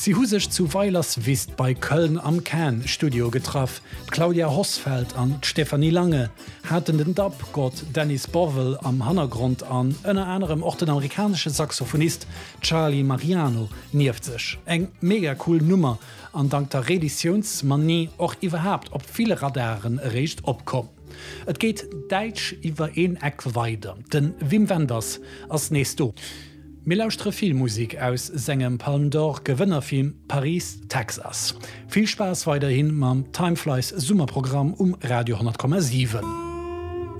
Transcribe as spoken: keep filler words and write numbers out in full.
Si hu sech zu Weilerswist bei Köln am Can Studio getraff. D'Claudia Hossfeld an d'Stefanie Lange haten den Dub-Gott Dennis Bovell am Hannergrond an ënner anerem och den amerikanesche Saxophonist Charlie Mariano nieft sech. Eng mega cool Nummer an dank der Reeditiounsmanie och iwwerhaapt op ville Radaren eréischt opkomm. Et geet däitsch iwwer een Eck weider. De Wim Wenders ass nees do. Mir lauschtere Filmmusek aus sengem Palme d'Or Gewënnerfilm Paris, Texas. Vill Spaass weiderhi mam Time Flies Summerprogramm um Radio honnert Komma siwen.